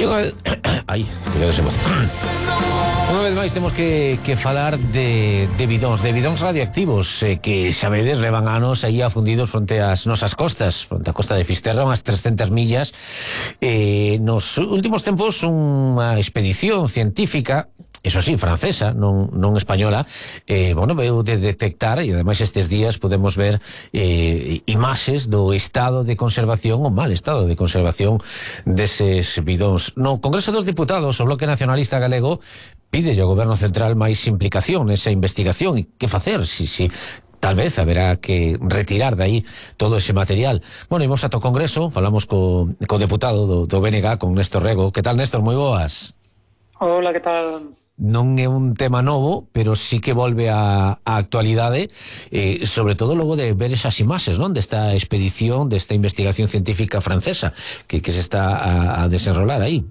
Ai, cuidado se moza. Unha vez máis temos que falar de bidóns radioactivos que xa vedes levan anos aí afundidos fronte ás nosas costas, fronte á costa de Fisterra, unhas 300 millas. Nos últimos tempos unha expedición científica, eso sí, francesa, non española, veu de detectar, e ademais estes días podemos ver imaxes do estado de conservación, o mal estado de conservación deses bidóns. No Congreso dos Diputados, o Bloque Nacionalista Galego pide ao Goberno Central máis implicación nesa investigación. E que facer? Si tal vez haberá que retirar de aí todo ese material. Bueno, imos ata o Congreso, falamos co deputado do BNG, con Néstor Rego. Que tal, Néstor? Moi boas. Hola, que tal? Non é un tema novo, pero sí que volve á actualidade, sobre todo logo de ver esas imaxes, non? Desta expedición, desta investigación científica francesa que se está a desenrolar aí.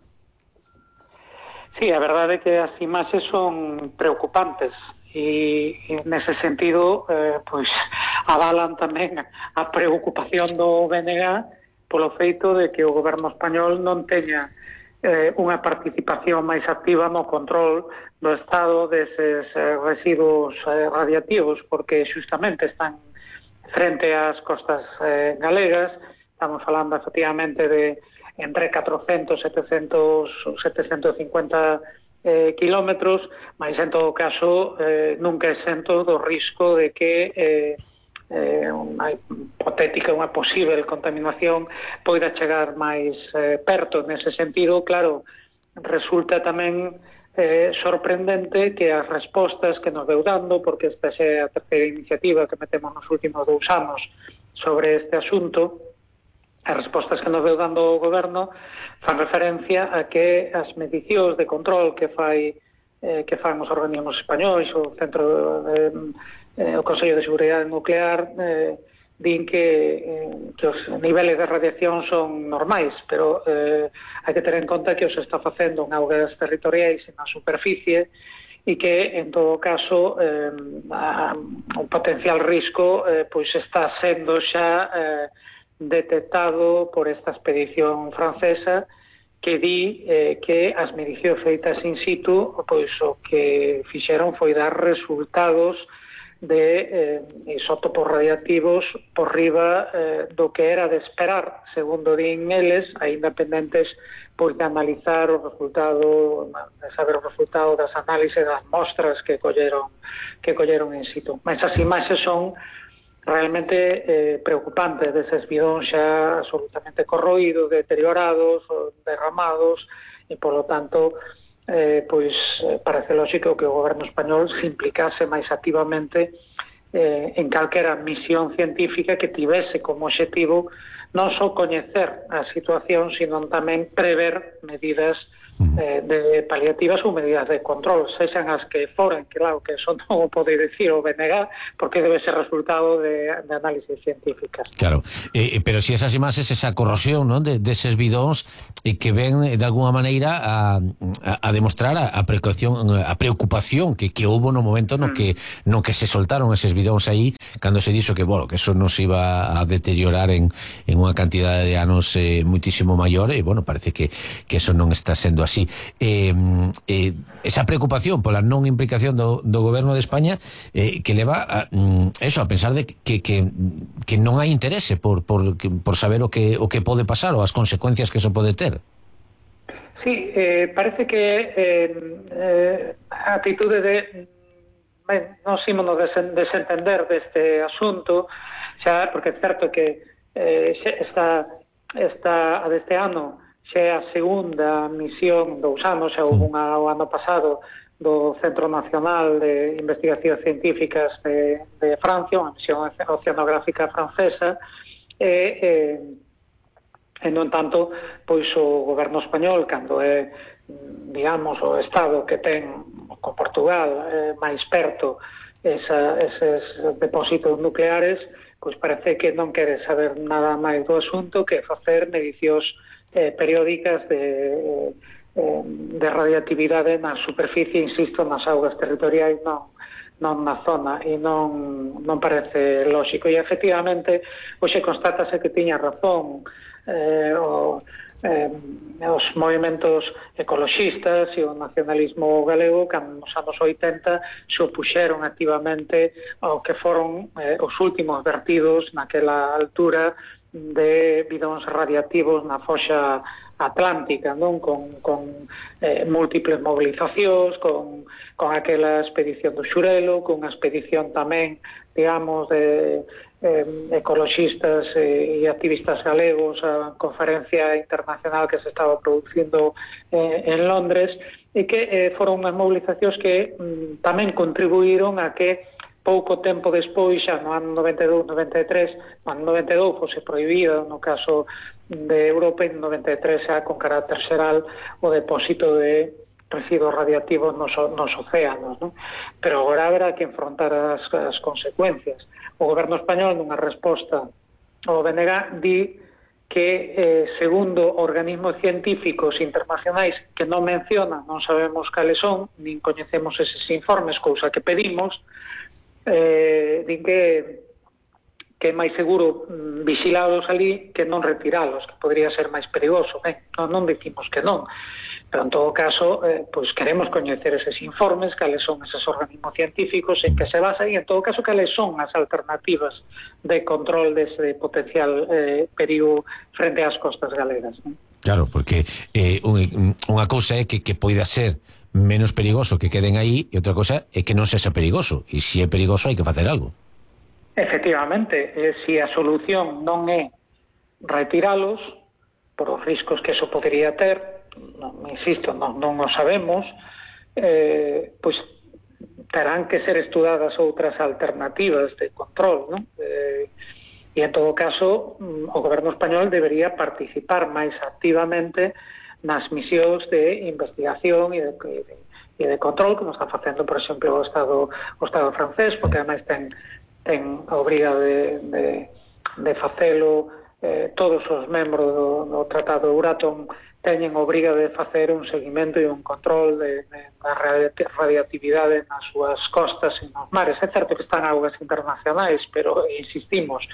Sí, a verdade é que as imaxes son preocupantes e nese sentido pois avalan tamén a preocupación do BNG polo feito de que o goberno español non teña unha participación máis activa no control do estado deses residuos radiactivos, porque xustamente están frente ás costas galegas. Estamos falando efectivamente de entre 400 e 750 kilómetros, mas en todo caso nunca exento do risco de que unha hipotética, unha posible contaminación poida chegar máis perto. Nese sentido, claro, resulta tamén sorprendente que as respostas que nos deu dando, porque esta é a terceira iniciativa que metemos nos últimos 2 anos sobre este asunto, as respostas que nos deu dando o goberno fan referencia a que as medicións de control que fan os organismos españois, o Centro o Consello de Seguridade Nuclear, din que os niveles de radiación son normais, pero hai que ter en conta que os está facendo en augas territoriais e na superficie, e que, en todo caso, un potencial risco pois está sendo xa detectado por esta expedición francesa, que di que as medicións feitas in situ, pois o que fixeron foi dar resultados de isótopos radiactivos por riba do que era de esperar, segundo din eles, aínda pendentes pois de analizar o resultado, de saber o resultado das análises das mostras que colleron in situ. Mas as imaxes son realmente preocupantes deses bidóns xa absolutamente corroídos, deteriorados, derramados, e polo tanto pois parece lógico que o goberno español se implicase máis activamente en calquera misión científica que tivese como obxectivo non só coñecer a situación, sino tamén prever medidas de paliativas ou medidas de control, sexan as que foren, que claro, que son non o pode dicir o BNG, porque debe ser resultado de análisis científicas. Claro, pero si esas imaxes, esa corrosión, non, deses bidóns que ven de alguna maneira a demostrar a preocupación que houbo no momento no que se soltaron eses bidóns aí, cando se dixo que, bueno, que eso nos iba a deteriorar en unha cantidade de anos muitísimo maior, e, bueno, parece que eso non está sendo así. Esa preocupación pola non implicación do goberno de España que leva a pensar de que non hai interese por saber o que pode pasar ou as consecuencias que eso pode ter. Sí, parece que a atitude de non ímonos desentender deste asunto, xa, porque é certo que esta deste ano xa é a segunda misión 2 anos, xa houve unha o ano pasado do Centro Nacional de Investigacións Científicas de Francia, unha misión oceanográfica francesa, e non tanto, pois o goberno español, cando é, digamos, o Estado que ten con Portugal máis perto eses depósitos nucleares, pois parece que non quere saber nada máis do asunto que facer medicións periódicas de radioactividade na superficie, insisto, nas augas territoriais, non na zona, e non parece lógico. E efectivamente hoxe constátase que tiña razón os movimentos ecoloxistas e o nacionalismo galego, cando nos anos 80 se opuxeron activamente ao que foron os últimos vertidos naquela altura de bidóns radiactivos na foxa atlántica, non? Con múltiples movilizacións, con aquela expedición do Xurelo, con a expedición tamén, digamos, de ecoloxistas e activistas galegos, a conferencia internacional que se estaba producindo en Londres, e que foron unhas movilizacións que tamén contribuíron a que pouco tempo despois, xa no ano 92-93, no ano 92 fose prohibida no caso de Europa, e no 93 xa con carácter xeral o depósito de residuos radiactivos nos océanos, non? Pero agora haberá que enfrontar as consecuencias. O goberno español, nunha resposta ao BNG, di que segundo organismos científicos internacionais que non mencionan, non sabemos cales son, nin coñecemos eses informes, cousa que pedimos, din que é máis seguro vixilalos ali que non retiralos, que podría ser máis perigoso. Non dicimos que non, pero en todo caso pois queremos coñecer eses informes, cales son eses organismos científicos en que se basan, e en todo caso cales son as alternativas de control dese potencial perigo frente ás costas galegas, non? Claro, porque unha cousa é que poida ser menos perigoso que queden aí, e outra cosa é que non sexa perigoso, e se é perigoso hai que facer algo. Efectivamente, se a solución non é retiralos por os riscos que eso podría ter, insisto, non o sabemos, pois terán que ser estudadas outras alternativas de control, non? E en todo caso o goberno español debería participar máis activamente nas misións de investigación e de control, como está facendo, por exemplo, o Estado francés, porque ademais ten a obriga de facelo. Todos os membros do Tratado de Euratom teñen obriga de facer un seguimento e un control da radiactividade nas súas costas e nos mares. É certo que están augas internacionais, pero insistimos,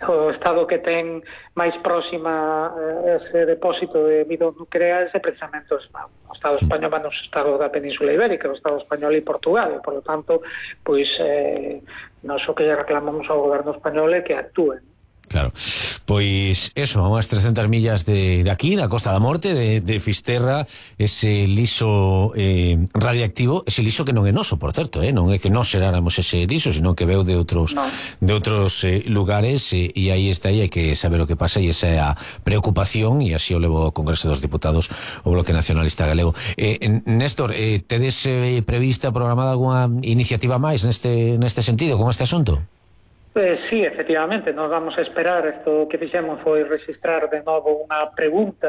o estado que ten máis próxima ese depósito de bidóns nucleares é precisamente o Estado español, o Estado da Península Ibérica, o Estado español e Portugal, e, por lo tanto, pois nós o que lle reclamamos ao goberno español é que actúen. Claro, pois eso, a unhas 300 millas de aquí, da Costa da Morte, de Fisterra, ese liso radiactivo, ese liso que non é noso, por certo, non é que nós xeráramos ese liso, sino que veu de outros lugares, e aí está, e hai que saber o que pasa, e esa é a preocupación, e así o levo ao Congreso dos Diputados o Bloque Nacionalista Galego. Néstor, tedes prevista, programada algunha iniciativa máis neste sentido, con este asunto? Sí, efectivamente, nos vamos a esperar. Isto que fixemos foi registrar de novo unha pregunta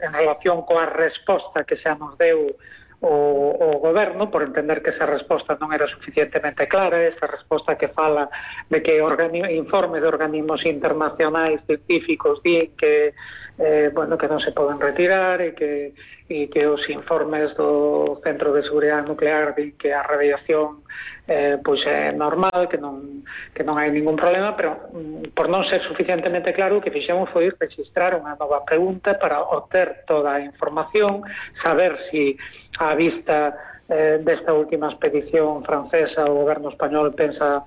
en relación coa resposta que xa nos deu o goberno, por entender que esa resposta non era suficientemente clara, esa resposta que fala de que informes de organismos internacionais científicos din que que non se poden retirar, e que os informes do Centro de Seguridade Nuclear din que a radiación pois é normal, que non hai ningún problema, pero por non ser suficientemente claro, o que fixemos foi registrar unha nova pregunta para obter toda a información, saber si á vista desta última expedición francesa o goberno español pensa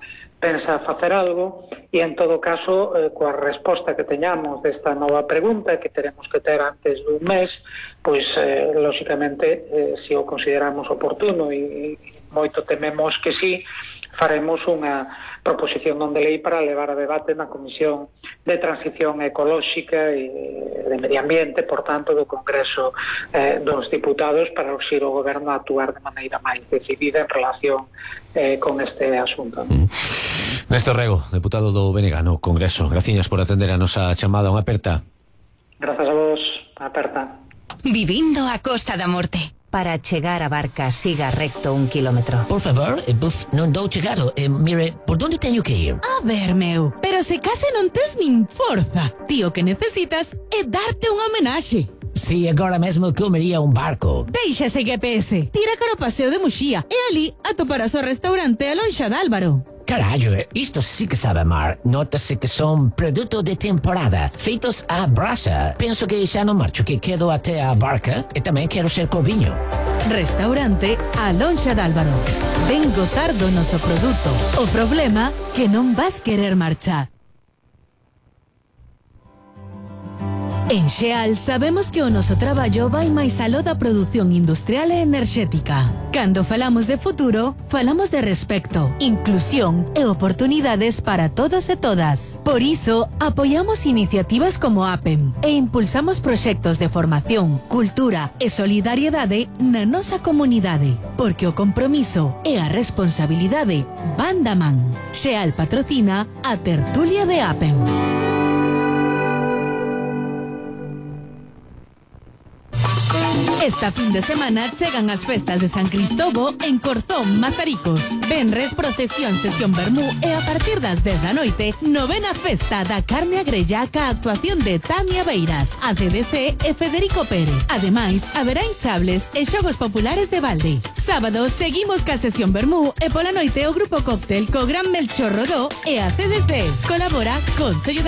facer algo, e en todo caso coa resposta que teñamos desta nova pregunta, que teremos que ter antes dun mes, pois lóxicamente se o consideramos oportuno, e moito tememos que sí, faremos unha proposición non de lei para levar a debate na Comisión de Transición Ecolóxica e de Medio Ambiente, por tanto, do Congreso dos Diputados, para urxir o goberno a actuar de maneira máis decidida en relación con este asunto. Néstor Rego, deputado do BNG no Congreso, graciñas por atender a nosa chamada. Unha aperta. Grazas a vos, aperta. Vivindo a Costa da Morte. Para chegar a Barca, siga recto 1 kilómetro. Por favor, non dou chegado. Mire, por onde teño que ir? A ver, meu, pero se case non tes nin forza. Tío, que necesitas é darte unha homenaxe. Si, agora mesmo comería un barco. Deixa ese GPS, tira cara o paseo de Muxía e ali atoparás o restaurante A Lonxa de Álvaro. Carallo, isto sí que sabe a mar. Nótase que son produto de temporada, feitos á brasa. Penso que xa non marcho, que quedo até a barca e tamén quero ser corviño. Restaurante A Lonxa de Álvaro. Ven gozar do noso produto. O problema que non vas querer marchar. En Xeal sabemos que o noso traballo vai máis aló da produción industrial e enerxética. Cando falamos de futuro, falamos de respecto, inclusión e oportunidades para todos e todas. Por iso, apoiamos iniciativas como APEM e impulsamos proxectos de formación, cultura e solidariedade na nosa comunidade, porque o compromiso e a responsabilidade van da man. Xeal patrocina a tertulia de APEM. Esta fin de semana chegan as festas de San Cristobo en Corzón, Mazaricos. Venres, procesión, sesión vermú e a partir das 10 da noite, novena festa da carne agrella ca actuación de Tania Beiras, ACDC e Federico Pérez. Ademais, haberá hinchables e xogos populares de balde. Sábado seguimos ca sesión vermú e pola noite o grupo cóctel co Gran Melchor Rodó e ACDC. Colabora Concello de